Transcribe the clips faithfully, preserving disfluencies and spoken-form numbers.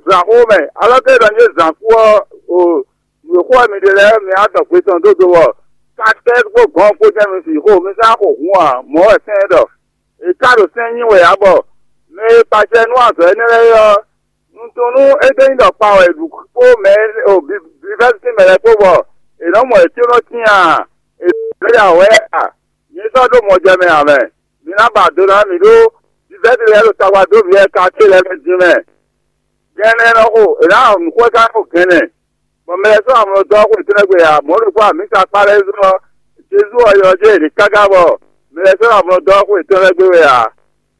zǎnxó mɛ, alɔ́ ke ɖɔ nyí zǎnkú ɔ́, o nǔ e xo wɛ mi ɖe lɛ́ɛ mi á dɔ gbe tɔn dó do wɔ. Katɛ́ kpó gɔ̌n kpó jɛ́n mi fi xo mi sán xo hǔn ǎ, mɔ̌ wɛ sɛ́n ɖɔ. È ka ɖo sɛ́n nyi wɛ ǎ bɔ mɛ e kpacɛ nú azɔ̌ énɛ́ lɛ́ɛ é ɔ́, un tunwun nú é ɖó nyí ɖɔ kpa wɛ è ɖu kpó mɛ e o vivɛ́sín mɛ lɛ́ɛ kpó bɔ è nɔ́ mɔ yě có nɔ tín a? È nɔ́ ya wɛ a? Mi sɔ́ ɖó mɔjɛmɛ ǎ mɛ. Mi ná ba do ná mì ɖó vivɛ́sín lɛ́ɛ ɖo tagba dó mǐ wɛ ka ce lɛ́ɛ mɛ din mɛ. Gɛnɛ nɔ xo è nǎ nǔxwɛ́ká xo gɛnɛ, bɔ mɛ lɛ́ɛ sɔ́ amlɔ dɔ́ xo yětɔn lɛ́ɛ gbe ǎ. Mɔ̌ ɖokpó amǐsa kpá lɛ́ɛ zɔ́n ɔ́, Jezu ɔ́ ylɔ́ jɛ yě káká bɔ mɛ lɛ́ɛ sɔ́ amlɔ dɔ́ xo yětɔn lɛ́ɛ gbe wɛ ǎ.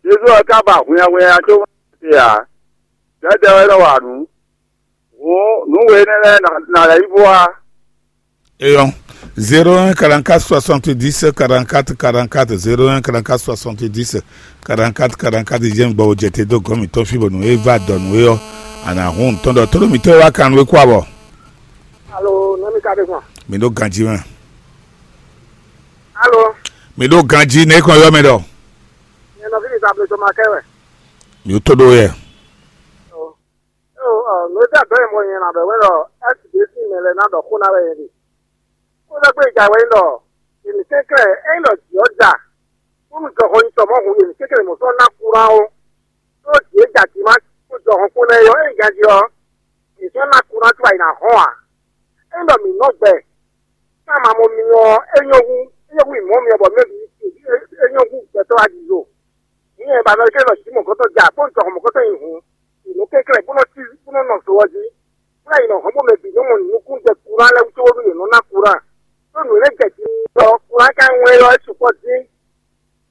Jezu ɔ́ ka ba hwinnyahwinnya có te ǎ. Dɛ̌dɛ̌ wɛ nɔ wa nǔ. Hǔn nǔ we énɛ́ lɛ́ɛ ná lɛ́ yi bó wá. Eyɔn, zéro un quarante-quatre soixante-dix quarante-quatre quarante-quatre, zéro un quarante-quatre soixante-dix quarante-quatre quarante-quatre, jɛ́n gbɔ jɛ te dó gɔ̌n mǐtɔn fí bɔ nǔ e va dɔ nǔ é ɔ́, a nǎ hun nǔ tɔn ɖɔ tónú mǐtɔn e wá kan nú é kú abɔ. Alo, nɔmi ka ɖe gbɔn? Mi ɖó ganjí mɛ. Alo, Mi ɖó ganjí nɛ́ kɔn ylɔ́ mɛ ɖɔ. Nyɛ nɔví mi Zabledo ma kɛ wɛ. Mi tó ɖó yɛ. Eo, ɔ, nǔ e dó adɔ̌ e mɔ nyɛ ná ɖɔ wɛ ɖɔ S B C mɛ lɛ́ɛ ná ɖɔ xó ná wɛ nyɛ ɖe. Xó ɖagbe e ja wɛ nyí ɖɔ, è nǐ kɛnklɛ́n ényí ɖɔ jǐ ɔ́ ja, bónú jɔhɔn nyi tɔn mɔ̌ hǔn è nǐ kɛnklɛ́n mɔ̌ sɔ́ ná kúran ó. Ɖó jǐ e ja jǐ má kpó jɔhɔn kpó lɛ́ɛ é ɔ́, ényí ganjí ɔ́, è sɔ́ ná kúran có ayi ná hɔn ǎ. Ényí ɖɔ mǐ nɔ gbɛ, ká ma mɔ mi ɔ́, é nyɔ́ hú, é nyɔ́ hú mǐ mɔ mi ɔ́, bɔ mɛ bǐ é nyɔ́ hú gbɛtɔ́ wá jǐ zo. Nyɛ ba mɛ kɛ nɔ jǐ mɔ̌kɔtɔn ja kpó jɔhɔn mɔ̌kɔtɔn nyi hǔn, è nɔ kɛnklɛ́n bó nɔ cí bó nɔ nɔ zo ɔ́ jí, bó ná yi nɔ hɔn bó mɛ bǐ nɔ mɔ nǔkún jɛ kuran lɛ́ɛ wú cóbónú yě nɔ ná kuran. Ɖó nǔ e jɛ jí ɔ́, kuran ka nyí wɛn ɔ́, é sukpɔ́ dín,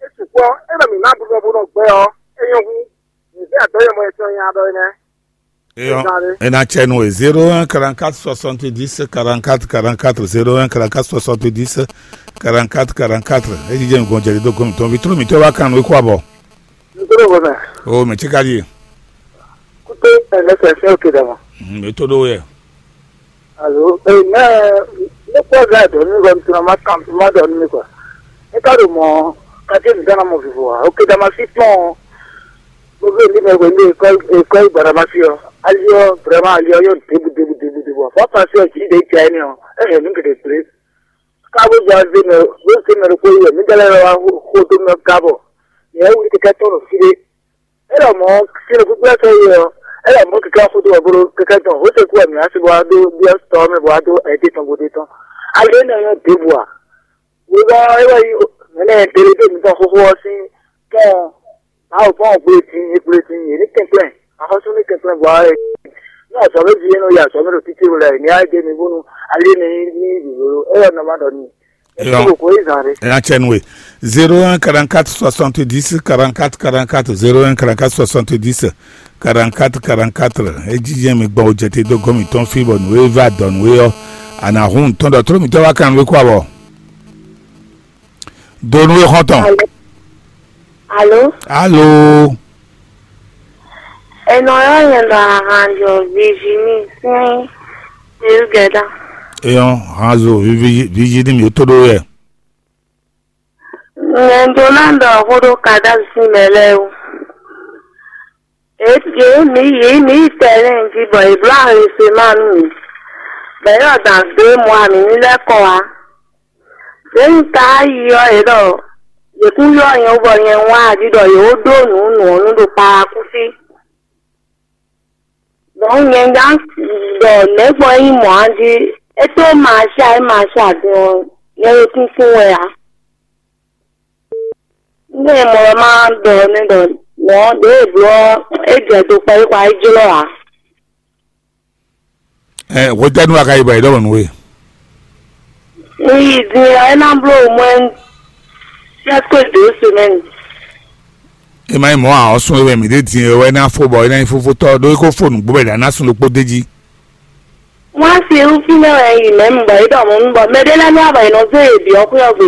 é sukpɔ́, é nɔ mǐ ná búdɔ́ bó nɔ gbɛ ɔ́, é nyɔ́ hú. Mǐ vɛ́ adɔ̌ e mɔ è sɔ́ nya ɖɔ é nɛ́. Eyɔn, Ezali. E ná cɛ nú we zéro un quarante-quatre soixante-dix quarante-quatre quarante-quatre, zéro un quarante-quatre soixante-dix quarante-quatre quarante-quatre. E jijɛ nukɔn jɛ do gɔn mitɔn vitro mitɔn wa kan nú e kó abɔ. Nítorí wọn mɛ, O mɛ tí ka di. Kúté ẹ̀mẹ́sẹ̀ fẹ́ òkè dàmọ́. Mi tó ɖó yɛ. Alo, ee, mɛ ne kpɔ ga dɔ ní kɔ mitɔn ma kan ma dɔ ní kɔ. E ka ɖo mɔ kake mi gana mɔ vivo wa. Òkè dàmọ́ sí tɔn. Gbogbo ní mɛ wɛ ní ekɔ ekɔ gbadama sí ɔ. Ali ɔ, vraiment ali ɔ yɔ debu debu debu debu. Fɔ pasi ɔ, dzi de dza ɛnɛ ɔ, e hɛn nú gɛdɛ gblé. Ka bó dza zé mɛ bó zé mɛ ɖokpó yi wɛ, mí dɛ lɛ wá xo dó mɛ gabɔ. Yɛ wuli kɛkɛ tɔn ɖo fí ɖé. Elɔ mɔ sínú gbígbí ɛsɛ yi ɔ, elɔ mɔ kɛkɛ xo dó wɛ bó ɖó kɛkɛ tɔn. Ó se kú wɛ mǐ asi bó wá dó byɔ́ tɔ mɛ bó wá dó ɛdí tɔn bó ɖé tɔn. Ali énɛ́ nyɔ́ debu a? Wěwá é wɛ nyí mɛ̌ nɛ́ ɖéɖé mǐtɔn xóxó ɔ́ sín tɔ́n. Mawu fɔ́n gble din, e gble din, yě ní kɛnklɛ́n, axɔ́sú ní kɛnklɛ́n vɔ ɛ. Ní azɔ̌ mɛ ví é nɔ yi azɔ̌ mɛ ɖo títí wɛ lɛ́ɛ, ní á dé mi bónú ali énɛ́ ní ní vǐvó. É wɛ nɔ ma ɖɔ n'i. Eyɔn, Kókó é zǎn ɖé. Ena cɛ nú we. Zéro un quarante-quatre soixante-dix quarante-quatre quarante-quatre, zéro un quarante-quatre soixante-dix quarante-quatre quarante-quatre. E jijɛ mi gbɔn o jɛ te dó gɔn mitɔn fí bɔ nǔ e va dɔ nǔ e ɔ́, a nǎ hun tɔn ɖɔ tló mitɔn wá kan nú e kó abɔ. Donu e xɔn tɔn. Alo. Alo. Alo. Enɔ yɔ nyɛ ɖɔ ahanjɔ Virginie sín Elgɛda. Eyɔn hanzo Virginie mi tó ɖó yɛ. Nyɛ ɖó ná ɖɔ xó ɖó Kadavi sín mɛ lɛ́ɛ wú. Ě mi yě mi yi tɛlɛ́ɛ jí bɔ è bló ahwesema nú mǐ, bɔ é ɖɔ dan dó é mɔ amǐ ní lɛ́ kɔ wá. Ɖěe un ka yi ɔ́, yě ɖɔ yě kún ylɔ́ nyɛ wú bɔ nyɛ wá jí ɖɔ yě wó ɖó nǔ nǔ ɔ́ nú ɖo Palakúsi. Dɔ̌n nyɛ gán ɖɔ nɛ̌ gbɔn é nyí mɔ̌ a jí? É tó Masia é Masia din ɔ́, nyɛ ɖo tíntín wɛ ǎ. Nú è mɔ wɛ má ɖɔ nú ɖɔ mɔ̌ ɖěe è bló ɔ́, é jɛ do kpɛɖé kɔ wá yi jlɔ́ ǎ. Ɛ hwetɛ́nu a ka yi bɔ è ɖɔ nǔ we? Un yi din ɔ́, é ná bló au moins presque deux semaines. E ma nyí mɔ̌ ǎ, ɔ́ sún é wɛ mǐ ɖe din e wɛ é ná fó bɔ é ná nyí fófótɔ́ ɖó é ko fó nǔgbó bɔ è ɖǎ ná sun ɖokpó d'é jí. Wọ́n á fi irúfín mɛ wɛ yi mɛ̌ bɔ é ɖɔ mɔ̌ bɔ mɛɖé lɛ́ɛ nú abɔ è nɔ zé yě byɔ́ xwé ɔ́ gbe,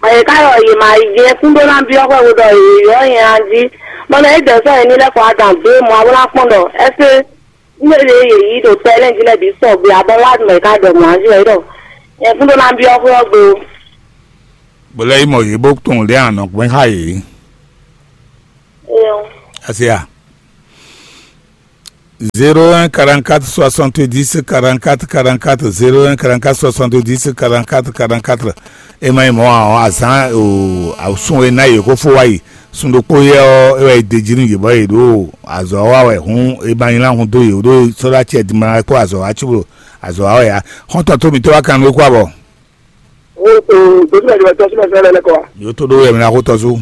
bɔ yě ká ɖɔ yě ma yi jɛ kún ɖó ná byɔ́ xwɛ bó ɖɔ yě ylɔ́ nyɛ a jí, bɔ mɛ é dɛ̌ sɔ́ yě ní lɛ́ kɔ adǎn dó mɔ a bó ná kpɔ́n ɖɔ ɛsé nú é ɖě yě yí ɖo tɛ́ lɛ́ɛ jí lɛ́ɛ bǐ sɔgbe ǎ, bɔ wá mɛ ká ɖɔ mɔ̌ a jí wɛ é ɖɔ nyɛ kún ɖó ná byɔ́ xwé ɔ́ gbe ó. Bó lɛ́ yi mɔ yě bó tunwun lě anɔ̌gbɛ́n xá yě. Éyɔ́. Asi a? Zéro un quarante-quatre soixante-dix quarante-quatre quarante-quatre, zéro un quarante-quatre soixante-dix quarante-quatre quarante-quatre. E ma nyí mɔ̌ ǎ ɔ́, azǎn o, awǔsún e ná yě kó fó wá yi sun ɖokpó yɛ ɔ́, é wɛ è d'é jí nú yě bɔ yě ɖo azɔ̌ wa wɛ hǔn, e ma nyí lá hun dó yě ɖó sɔ́ ɖó acɛ dimla kpó azɔ̌ wa cóbó azɔ̌ wa wɛ ǎ. Xɔ́ntɔn tó mǐtɔn wá kan nú é kó abɔ. O o, dosúmɛ jɔ tɔsúmɛ fɛn lɛ lɛ kɔ wa. Yóò tó ɖó wɛ mi ná xó tɔ́sú.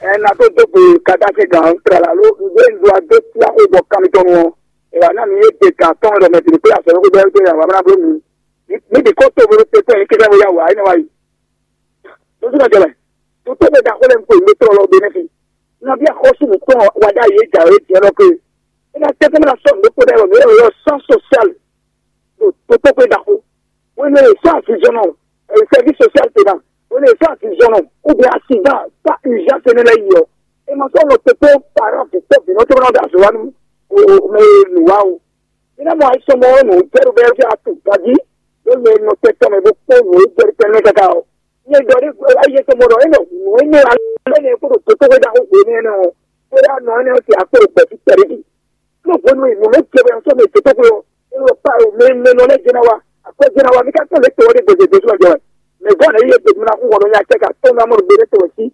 Ɛ na tó dó gbe kata se gan tra la lo nzé nzó a dó tí a xó bɔ kan mi tɔn nu ɔ. Ɛ wa na mi ye de gan tɔn ɖɔ mɛ tiri kple asɔ yɔkó bɛ to ya wa bla blo mi. Mi de ko to bolo te tɔn yi kɛkɛ bo ya wa yi na wa yi. Dosúmɛ jɔ mɛ. Tó tó bɛ da xó lɛ n ko yi mi trɔ lɔ be ne fi. Na bi axɔ́sú nǔkplɔ́n wa ɖ'ayǐ e jǎwe din ɔ́ ɖɔ ke é ná tɛ́ tɛ́ ná sɔ́ nǔ ɖokpó ɖ'ayǐ wɛ mǐ ɖo sán sosial ɖo tótóxwé ɖaxó. Hwenu e è sɔ́ azinzɔnnɔ, sɛ́vísi sosial ce ná, hwenu e è sɔ́ azinzɔnnɔ, ou bien accident, pas urgence énɛ́ lɛ́ɛ yi ɔ́, è ma sɔ́ nɔ kpékpé parent vǐtɔ́ vǐnɔ tɔn ná ɖo azɔ̌ wa nú mɛ e nǔ wa o. Mǐ ná mɔ ayisɔmɔ ɔ́ nǔ jɛ ɖo bɛ́ fí atu ganjí ɖó mɛ e nɔ tɛn tɔn mɛ bó kpó nǔ e jɛ ɖo tɛn mɛ káká ɔ́. Nyɛ ɖɔ ɖé ayi tɔn mɔ ɖɔ é nɔ nǔ énɛ́ alɔ énɛ́ kpódò dotóxwé ɖaxó hwenu énɛ́ ɔ́, xwé ɖo anɔ énɛ́ ɔ́ ce akpó ɖo gbɛ̌ fí kpɛɖé jí. Nú hwenu e nǔ nɔ jɛ wɛ ɔ́ sɔ́ mɛ dotóxwé ɔ́, é nɔ pa mɛ mɛ nɔ lɛ́ɛ jɛ ná wa, akwɛ́ jɛ ná wa, mi ka kpɔ́n lě tɔn ɔ́ ɖé gbèsè Jezu wɛ jɛ wɛ. Mɛ gɔ́ lɛ́ɛ yí e gbedun ná xú hwɔ nɔ nya cɛ ka tɔ́n ná mɔ ɖo gbe nɛ́ tɔn wɛ sí.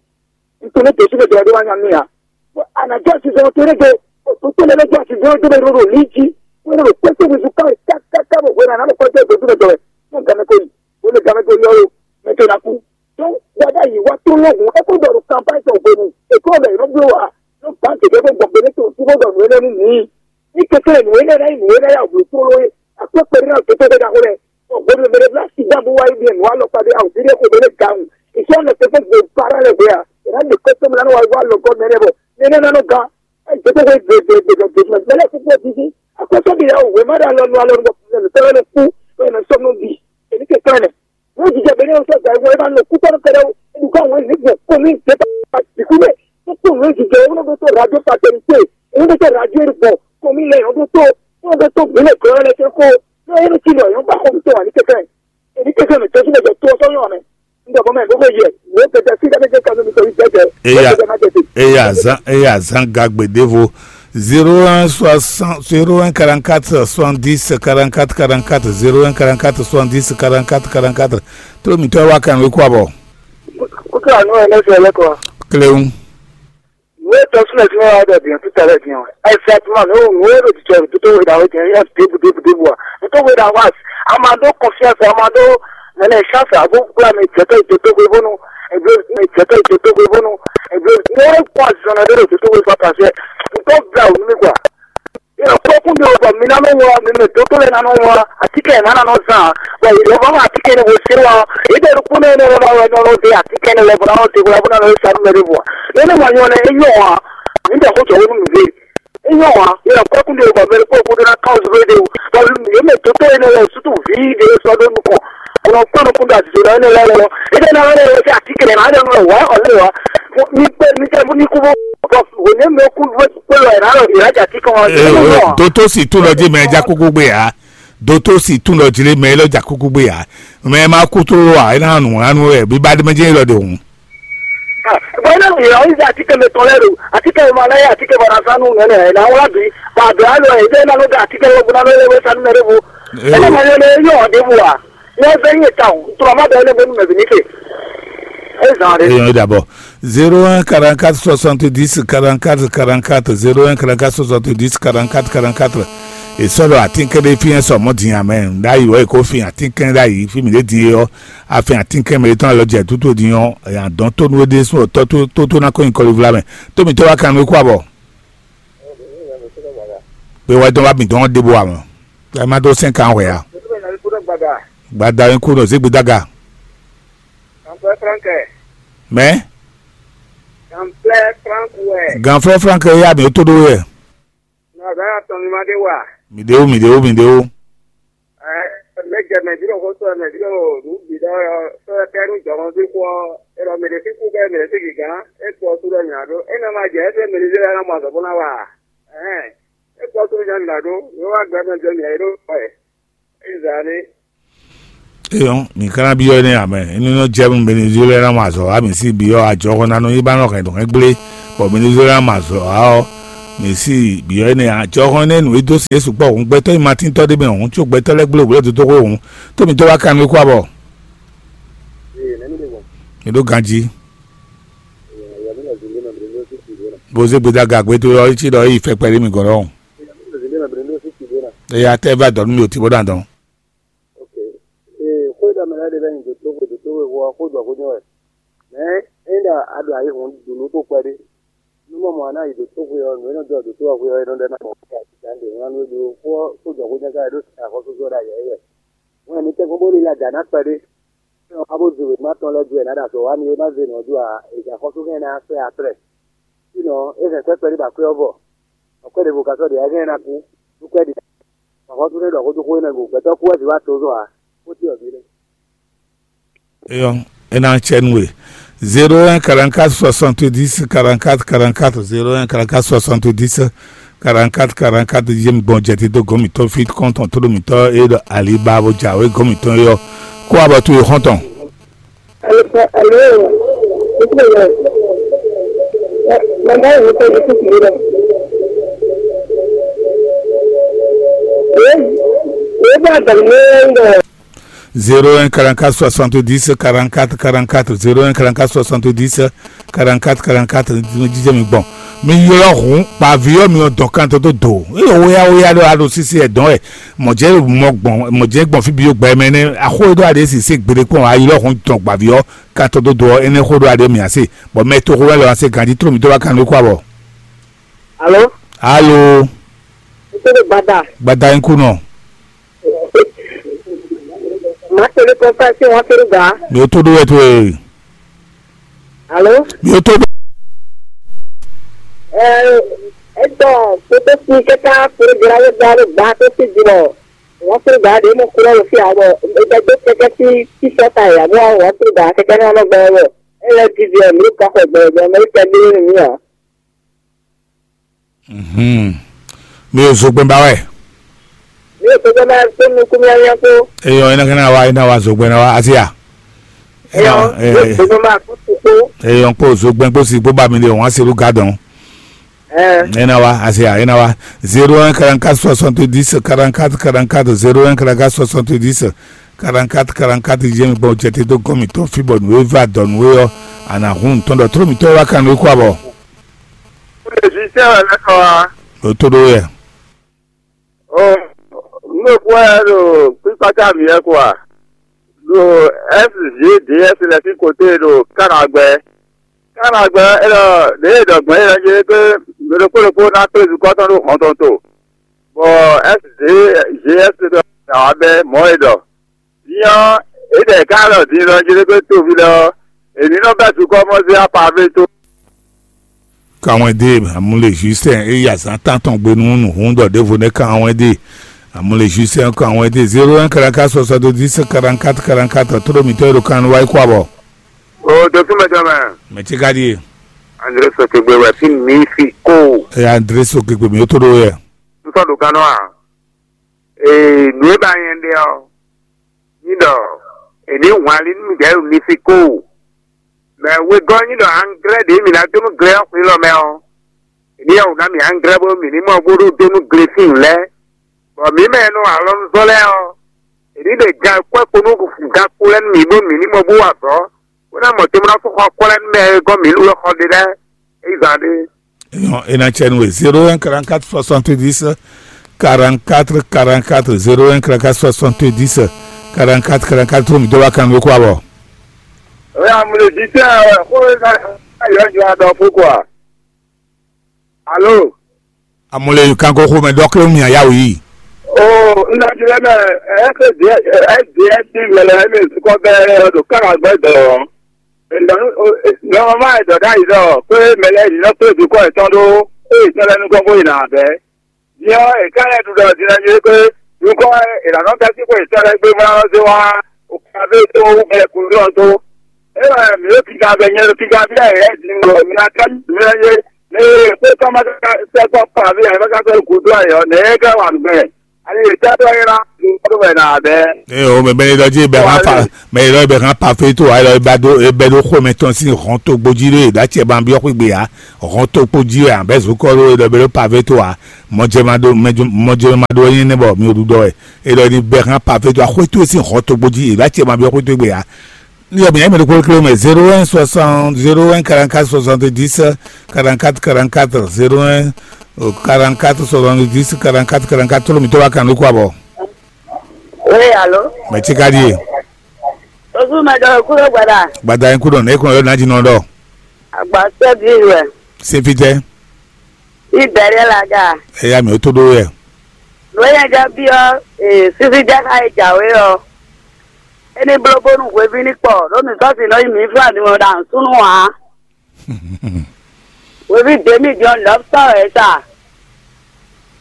Un tunwun ní Jezu mɛ jɛ wɛ ɖó wá nya mì ǎ. Bɔ a nǎ jɔ azinzɔnnɔ towe ɖé go, bɔ to tɔn lɛ́ɛ nɔ jɔ azinzɔnnɔ towe ɖó ɖo lǐ jí, bó nɔ ɖo kpɛ́ towe zú káwe kákáká bɔ hwenu a nǎ ɖo kɔ́ jɔ Jezu mɛ jɛ wɛ. Nú gan mɛ ko yi, bó nɔ gan mɛ ko yi ɔ́ lo, mɛ ko ná kú. Dɔn gbada yi wá tó lɔhùn é kó ɖɔ ɖo kanpa tɔn hwenu è kó ɖɔ yě nɔ bló wa nɔ gbǎn gěgé bó gbɔn gbe nɛ́ tɔn fí bó ɖɔ nǔ énɛ́ nú mǐ. Ní kɛkɛ́ nǔ énɛ́ ná nyí nǔ énɛ́ ya wǔ tlóló é akwɛ́ kpɛɖé ná gěgé ɖaxó lɛ́ɛ. Bɔ hwenu e mɛ ɖé blá sida bó wá yi ɖe nǔ alɔkpa ɖé awǔ ɖé xo mɛ ɖé gawun. Ìṣe ɔ́ nɔ te fún gbe para lɛ hwe a? È nǎ ɖe kɔ́ tɔn mɛ ná nɔ wá yi wá lɔ gɔ́ mɛ lɛ́ɛ bɔ mɛ énɛ́ ná nɔ gán. Ɛ gěgé hwe gbe gbe gbe gbe gbe mɛ lɛ́ɛ kúkú ɔ́ dídí. Akwɛ́ tɔn ɖi ya wǔ wěma ɖo alɔ nu alɔ nu bɔ mɛ tɔn lɛ́ɛ nɔ kú bɔ è nɔ sɔ́ nú bǐ. È ní kɛkɛ́ ɛnɛ. Wọ́n jíjẹ bẹ̀rẹ̀ ọ̀sẹ̀ ìgbà ìwọ ẹ máa nọ kúkọ́ ní kẹrẹ o. Ẹnìkan àwọn ènìyàn pọ̀ mí ìgbé bá ìkúlẹ̀ tó pọ̀ ní jíjẹ owó tó rà jọ pàtẹ́ni pé owó tó rà jọ èrò pọ̀ kọ́ mí lẹ́yìn ọdún tó wọ́n tó tó gbélé kan lẹ́kẹ́ kó lọ́wọ́ ẹni tí lọ yọ̀ ń bá kọ́ mi tó wà ní kẹ̀kẹ́ èmi kẹ̀kẹ́ mi tọ́jú mẹ́jọ tó ọsọ́ yọ̀ mẹ́. Ń dọ̀bọ̀ mẹ́ gbogbo yẹ wọ́n kẹ̀kẹ́ sí dákẹ́kẹ́ kan lómi sọ ìgbẹ́jẹ. Eya, eya zan, eya zan gagbe devo. Zéro un soixante, zéro un quarante-quatre soixante-dix quarante-quatre quarante-quatre, zéro un quarante-quatre soixante-dix quarante-quatre quarante-quatre. Tó mǐtɔn wá kan wé kú abɔ. Kúkú àánú ẹ̀ lẹ́sẹ̀ lẹ́kọ̀ọ́. Cléon. Ìwé ìtọ́sílẹ̀ tí wọ́n wá dẹ̀ bìyàn títà rẹ̀ bìyàn. Exactement, ní òun wé lòdì jẹ́ òdòdó wé dàwé jẹ́ yẹn débù débù débù wa. Nítorí wé dàwé àti a máa dó confiance, a máa dó nana chance àbó gbúra mi jẹ́tọ́ ìdótógbé bónú. Ẹgbẹ́ mi jẹ́tọ́ ìdótógbé bónú. Ẹgbẹ́ mi wọ́n kó àzọ̀nà lórí òdòdó wé pàpà jẹ́. Nítorí gbà òun mi gbà. Yɔkpɔkun ɖe bɔ mi ná nɔ wɔ mi mɛ dótó lɛ ná nɔ wɔ atikɛ ná ná nɔ zan bɔ yɔbɔ ma atikɛ ne bo se wa ede ɖokpó ne ne wɔ wɔ nɔ de atikɛ ne lɛ bɔ ná nɔ de wɔ bɔ ná nɔ sa nu mɛ de bɔ ne ne ma nyɔ ne enyɔ wa mi bɛ ko jɔ wo nu de enyɔ wa yɔkpɔkun ɖe bɔ mɛ ko ko na kawo zoro de bɔ yɛ mɛ dótó ne wɔ sutu vi de sɔ do nukɔ bɔ kpɔn nukun da zoro ne lɛ wɔ ede na wɔ ne wɔ se atikɛ ne na ne wɔ wɔ ne wɔ mi kpɛ mi tɛ mi ku bɔ bɔ ne mɛ ku bɔ kpɛ wɔ na lɔ yɛ ja atikɛ wa. Ee, dótó sì tún lɔ jí mɛ ja kúkú gbé ya. Dótó sì tún lɔ jí lé mɛ lɔ ja kúkú gbé ya. Mɛ ma kú tó wa é ná nù anu ɛ bí bá dé mɛ jẹ́ lɔ de hùn. Bɔn ina yɛ ɔyi jɛ atikɛ mɛ tɔn lɛ do atikɛ mɛ ma lɛ yɛ atikɛ bɔ na sanu mɛ nɛ na wla bi ba do alo ɛ jɛ na lɔ da atikɛ lɔ bo na lɔ lɛ wɛ sanu mɛ de bo. Ena ma yɔ lɛ yɔ de bo wa. Yɛ fɛ yɛ ta o tura ma bɛ ne bo nu mɛ bi ni ke. E zan de. Eyɔn dabɔ. Zéro un quarante-quatre soixante-dix quarante-quatre quarante-quatre, zéro un quarante-quatre soixante-dix quarante-quatre quarante-quatre. E sɔlɔ atínkɛn ɖé fi yẹn sɔ mɔ din amɛ. Ɖ'ayǐ wɛ kó fi atínkɛn ɖ'ayǐ fi mi ɖé din yɔ. Afin atínkɛn mi tɔn alɔ jɛ tútó din yɔ. Yàn dɔn tó nú ɖé sún tɔ tó tó ná kó nyi kɔli vla mɛ. Tó mi tɔ wá kan nú kó abɔ. Pé wá dɔn wá mi dɔn ɖé bo amɔ. Ɛ má dó sɛn kan wɛ ya. Gbada yín kú nɔ zé gbedaga. Mɛ. Ganflɛ Frank wɛ. Ganflɛ Frank yɛ ya mi tó ɖó yɛ. Nɔ bɛ atɔn mi ma ɖe wa. Mi ɖe wo, mi ɖe wo, mi ɖe wo. Ɛ mɛ jɛ mɛ bi ɖo xɔsɔ mɛ bi ɖo nu bi ɖɔ sɔ kɛ nu jɔmɔ bi kɔ. E ɖɔ mi ɖe fi ku kɛ mi ɖe fi gigán. E kpɔ su ɖɔ nya ɖo. E nɔ ma jɛ e fɛ mi ɖe fi na mɔ azɔ bó na wa. Ɛhɛn. E kpɔ su ɖɔ nya ɖo. Yo wa gbɛ mɛ jɛ mi ɖo kɔ ɛ. Ezali. Eyɔn, mi kana bi yɔ ne amɛ. Inu nɔ jɛ mu Venezuela na ma zɔ ami si bi yɔ ajɔ ko na no yi ba nɔ hɛn do hɛn gble. Bɔ Venezuela ma zɔ a ɔ. Mǐ si byɔ̌ énɛ́ ǎ. Jɔhɔn énɛ́ nǔ e dó sin é sukpɔ́ hǔn, gbɛtɔ́ nyimatíntɔ́ ɖé mɛ hǔn, có gbɛtɔ́ lɛ́ɛ gblé wǔ lɛ́ dó dó xwé hǔn. Tómi tɔ́ wá kanú é kú abɔ. Mi ɖó ganjí. Bó zé gbeda gǎgbé tó ɔ́, cí ɖɔ é yi fɛ kpɛɖé mi gɔ̌n ɖɔhun. Eya tɛ va dɔ̌ nú mi ò tí bó ná dɔn. Ok. Ee, xó e ɖɔ mɛ lɛ́ɛ ɖe lɛ́ɛ nyi dǒtóxwe, dǒtóxwe xó ɔ́, xó ɖɔ xó jɛ́n wɛ. Mɛ̌ é ɖɔ a ɖo ayihún ɖu nǔ xo kpɛɖé. Nú mɔ mɔ̌ a ná yi dǒtóxwe ɔ́, nǔ e nɔ jɔ dǒtó ɔ́ xwe ɔ́, é nɔ ɖɔ ná mɔ fí a sika ɖe wlán nú é ɖó xó ɔ́, xó jɔ xó jɛ́n ká wɛ ɖó axɔ́súzɔ ɖo ayǐ wɛ. Wɛn mi tɛ́nkpɔ́n bó ní lɛ ajǎ ná kpɛɖé. Ɔ́, a bó zun wěma tɔn lɛ́ɛ ju wɛ ná ɖo azɔ̌ wa mi é má zé nǔ ɔ́ ju ǎ, è jɛ axɔ́sú hɛn ná sɛ́ atrɛ. Fínɔ é hɛn kwɛ́ kpɛɖé ɖo akwɛ́ ɔ́ vɔ. Akwɛ́ ɖěvo ka sɔ́ ɖe ǎ, é hɛn ná kú. Nú kwɛ́ ɖě. Axɔ́sú nɛ́ ɖɔ xó dó xó énɛ́ go, gbɛtɔ́ kú wɛ zǐ wá tozɔ́ ǎ, xó ce ɔ́ ɖíe nɛ́. Eyɔ́, é ná cɛ nú we. Zéro un quarante-quatre soixante-dix quarante-quatre quarante-quatre, zéro un quarante-quatre soixante-dix quarante-quatre quarante-quatre, yé mi gbɔn jɛ te dó gɔ̌n mǐtɔn fí kɔ́ntɔn tóɖó mǐtɔn e ɖɔ Alibabo jǎwe gɔ̌n mǐtɔn é ɔ́, kó abɔ towe xɔ́ntɔn. Alo, alo, alo, mama yìí kò ní kúkú yìí lọ. Èyí, èyí bá dàgbà ní ẹ̀ ń bọ̀. Zéro un quarante-quatre soixante-dix quarante-quatre quarante-quatre, zéro un quarante-quatre soixante-dix quarante-quatre quarante-quatre, jíjẹ́ mi gbɔn. Mi ylɔ́ hǔn kpaví ɔ́, mi nɔ dɔn kan tó dó dǒ. Eye wéyá wéyá ɖo aɖo sísí ɛ dɔn wɛ. Mɔ̌ jẹ́ mɔ gbɔn, mɔ̌ jẹ́ gbɔn fí bǐ yó gbɛ mɛ nɛ́. Axó e ɖó aɖě sisé gbeɖé kpɔ́n, a ylɔ́ hǔn dɔn gbaví ɔ́, kan tó dó dǒ ɔ́, énɛ́ xó ɖó aɖě mǐ ǎ se. Bɔ mɛ toxo wɛ lɔ ǎ se ganjí tló mǐ dó wá kan nú é kú abɔ. Alo? Alo? Ntɛ́nɛ́ gbada? Gbada nyí kú nɔ. Màá tẹ̀lé kɔnfáìsì wọn kéré gbà. Mi ò tó ɖó wɛ tó e. Alo? Mi ò tó ɖó. Ẹ ẹ tɔ kótó sí kẹta kúrú gbéra wé gbá ló gbá tó sí jùlọ. Wọn kéré gbà ɖé mọ kúrò lọ sí àbọ. Ẹ jẹ gbé kẹkẹ sí sísọ ta yà bó wọn kéré gbà kẹkẹ náà lọ gbẹ wọ. Ẹ lẹ ti di ẹ mi kọ xọ gbẹ gbẹ mẹ kẹ gbé nínú mi à. Mhm. Mi ò zogbɛn ba wɛ. Mi ò zogbɛn ba tó nukún míámíá kpó. Eyɔ, ena kana wa, ena wa zogbɛn na wa asia. Eyɔ, mi ò zogbɛn ba kó ti kpó. Eyɔ kpó zogbɛn kpó si kpó ba mi de wọn aseru gadɔn. Ena wa asia, ena wa. Zéro un quarante-quatre soixante-dix quarante-quatre quarante-quatre, zéro un quarante-quatre soixante-dix quarante-quatre quarante-quatre, yé mi gbɔn jɛ te dó gɔn mi tɔn fi bɔ nǔ e va dɔ nǔ e ɔ́, a nǎ hun nǔ tɔn ɖɔ tló mǐtɔn e wá kan nǔ e kú abɔ. Kúlè sísẹ́ wɛ lɛ́ kɔ wá. Ɖo tó ɖó yɛ. Ó, nú kú wɛ ɖo kpíkpátá mǐ wɛ kɔ wá. Ɖo S G D S lɛ sín koté ɖo Kánagbɛ. Kánagbɛ é ɖɔ ɖěe ɖɔ gbɔn é ɖɔ jɛ pé mɛ ɖokpó ɖokpó ná kplé zukɔ́ tɔn ɖó hɔn tɔn to. Bɔ S G S ɖɔ ná wá bɛ́ mɔ̌ e ɖɔ. Din ɔ́, é ɖɛ ká ɖɔ din ɖɔ Jelekɔ́ toví lɛ́ɛ ɔ́, è ní nɔ bɛ́ dukɔ́ mɔ zé apavé tó. Kanwɛdé amúle Justin é yi azǎn tántɔn gbe nú nǔhún ɖɔ ɖěvo nɛ́ kanwɛdé amúle Justin kanwɛdé zéro un quarante-quatre soixante-dix quarante-quatre quarante-quatre, tóɖó mǐtɔn e ɖo kan nú wá yi kó abɔ. O dɔkúmɛ tɔn mɛ. Mɛ tí ka ɖíe. André Sɔtɔgbe wɛ fí mi fi kó. Ɛ André Sɔtɔgbe mi ó tó ɖó yɛ. N sɔ ɖo gannɔ a? Ee, nǔ e ba nyɛ ɖe ɔ́, ní ɖɔ è ní hwan ali nú mǐdɛɛ ɖo Mexiko. Mɛ wegɔ́ ní ɖɔ anglɛ́ ɖě mǐ ná dó nú glɛ́ ɔ́ xwǐ lɔ mɛ ɔ́, è ní yɛ wǔ ná mǐ anglɛ́ bónú mǐ ní mɔ bó ɖó dó nú glefín lɛ́ɛ. Bɔ mǐ mɛ e nɔ alɔnuzɔ́ lɛ́ɛ ɔ́, è ní ɖe gan kwɛ́ kpo nú gan kpo lɛ́ɛ nú mǐ bónú mǐ ní mɔ bó wa azɔ̌, bó ná mɔ tomɛ ná fó xɔ kwɛ́ lɛ́ɛ nú mɛ e gɔ́ mǐ lú wɛ xɔ ɖe lɛ́ɛ. É yi zan ɖé. Eyɔn, é ná cɛ nú we zéro un quarante-quatre soixante-dix quarante-quatre quarante-quatre, zéro un quarante-quatre soixante-dix quarante-quatre quarante-quatre, tó mi dó wá kan nú kó abɔ. Oya mo lè di tẹ́ ẹ kó ẹ ká yọ jọ adɔ fún kọ a? Alo. Amúlẹ̀ kanko xó mɛ dɔkítɔ́ mi àyà wò yìí. O n ná jẹ mẹ ẹ ẹ di ẹ di ẹ di mẹlẹ ẹ mi sukọ bẹ ẹ do kára gbẹ dọ. Nɔmɔmɔ ɛ dɔ ɖ'ayǐ ɖɔ kpé mɛ lɛ́ɛ ɖi nɔ kplé dukɔ yětɔn ɖó ée yě tɔn lɛ́ɛ nukɔn bó yi nǎ bɛ́. Din ɔ́, è ká lɛ́ ɖu ɖɔ din ɔ́ nyí kpé dukɔ è nǎ nɔ bɛ́ sín xwe yětɔn lɛ́ɛ gbé bó ná nɔ zé wá Okavé tó bɛ́ kúnlú ɔ́ tó. É wɛ mǐ ɖo kiga bɛ nyɛ ɖo kiga bí ayǐ lɛ́ɛ din ɖɔ mi ná ká nyi mǐ lɛ́ɛ yé. Ní kpé tɔn ma ka sɛ́ kpɔ́ kpa bí ayǐ ma ka sɛ́ gǔdo ayǐ ɔ́, nɛ̌ é ká wa nǔ gbɛn? Ali yě tɛ́ tɔ́ é ná. Kódó wɛ nɔ abɛ. Eye o, mɛ bɛnɛ ɖɔ jí bɛ hàn pa, mɛ ɖɔ bɛ hàn pa fɛ tó, ayɔ bɛ do bɛ do xó mɛ tɔn sín hɔn tó gbójí lé, ɖó acɛ ban biɔ xwé gbé ya, hɔn tó gbójí wɛ abɛ zokɔ ló ɖɔ bɛ do pa fɛ tó a, mɔjɛ ma do mɔjɛ ma do nyí nɛ bɔ mi o ɖu dɔ wɛ, e ɖɔ ni bɛ hàn pa fɛ tó a xwé tó sín hɔn tó gbójí, ɖó acɛ ban biɔ xwé tó gbé ya. Ni yɔ mi yɛ mɛ do kpó kpó mɛ zéro un soixante zéro un quarante-quatre soixante-dix quarante-quatre quarante-quatre zéro un quarante-quatre soixante-dix quarante-quatre quarante-quatre, tolo mi tó wa kan ló kó abɔ. Oui, allô? Mɛ tí ka ɖíe. Ojú mɛ ɖɔ kúrò gbada. Gbada yín kúrò ní ekun yóò nájí nɔ ɖɔ. Àgbà sẹ́bí rẹ̀. Sefitɛ. Ìbẹ̀rẹ̀ làgà. Ẹ̀yà mi ò tó ɖó yẹ. Lóyè jẹ́ bí ọ́, sísí jẹ́ ká ẹ jàwé ọ́. Ẹni blóbónú hweví ní kpɔ, ló mi sọ́ọ̀sì náà yìí mí fún àdìmọ̀ dà ń súnú wá. Hweví dèmí jọ lọ́pítọ̀ ẹ̀ sà.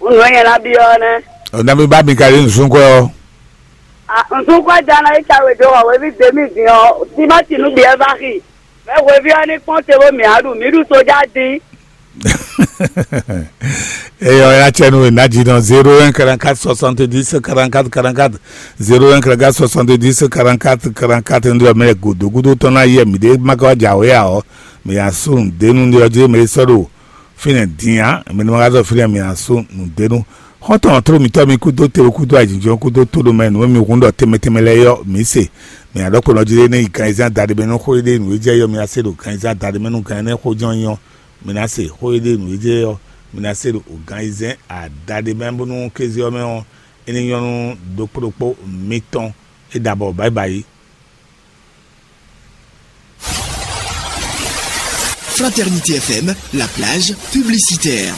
Ń lóyè lábí ọ́ nẹ́. Ọ̀nà mi bá mi kàlí nsúnkọ́ ọ́. Nsúnkọ́ jana yìí ka wèjọ wà hweví dèmí dín ọ́, tímátì nú bìẹ́ bá xì. Mɛ hweví ɔ́ ní kpɔ́n te bó mì á ɖu, mǐ ɖu sójá dín. Eyɔ ya cɛ nu na ji nɔ zéro un quarante-quatre soixante-dix quarante-quatre quarante-quatre, zéro un quarante-quatre soixante-dix quarante-quatre quarante-quatre, ndé ɔmɛ gòdògúdó tɔn ná yɛ mǐ ɖé má ka wá jǎwe ǎ ɔ́, mǐ ná sú nǔɖé nú ndé ɔ́ jí mɛ é sɔ́ ɖo fínɛ́ din ǎ, mɛ ní ma ka zɔ fínɛ́ mǐ ná sú nǔɖé nú. Xɔ́ntɔn tló mǐtɔn mi kúdó te kúdó ayǐjínjɔ́n kúdó tóɖomɛ nǔ e mi hun ɖɔ tɛnmɛ tɛnmɛ lɛ́ɛ ɔ́, mǐ se. Mǐ ná ɖɔ kpɔ́ nɔ jí ɖé nú yi ganzán daɖé mɛ nú xó e ɖe nǔ e jɛ yɔ mǐ ná se ɖo ganzán daɖé mɛ nú gan énɛ́ xó jɔ́n nyí ɔ́, mǐ ná se xó e ɖe nǔ e jɛ ɔ́, mǐ ná se ɖo gan ayizɛ́n adaɖé mɛ bónú kéze ɔ́ mɛ ɔ́, é ní nyɔ́ nú ɖokpó ɖokpó mitɔn. É ɖabɔ bǎyibǎyi. Fraternité F M, la plage publicitaire.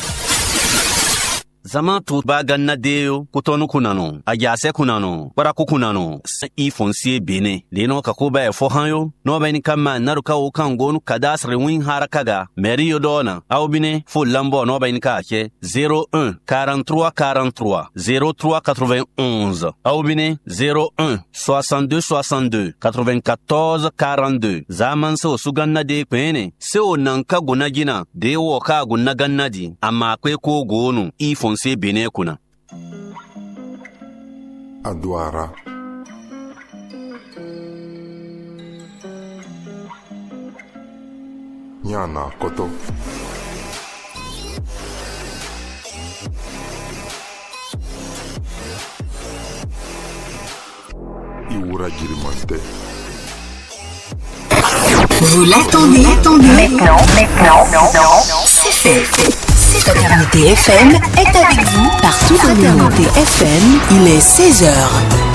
Zaman to ba ganna de yo, kutɔnu kunanu, ajase kunanu, kparaku kunanu, i fonsie bene. De no ka ko ba e fo han yo, no ba ni ka ma na ka o kan go nu cadastre win haraka ga, mairie yo dona. Au bine, fo lambo no ba ni ka che, zéro un, quarante-trois quarante-trois, zéro trois quatre-vingt-onze. Au bine, zéro un, soixante-deux soixante-deux, quatre-vingt-quatorze quarante-deux. Zaman so suganna de kpene. Se o nan ka gona jina, de o ka gona ganna di, ama kwe ko gonu, i fonse bene kuna. Adwara. Nyana koto. Iwura jirimantɛ. Vous l'attendez, attendez. Maintenant, maintenant, maintenant. C'est fait. Fraternité F M est avec vous partout dans le monde. Fraternité F M, il est seize heures.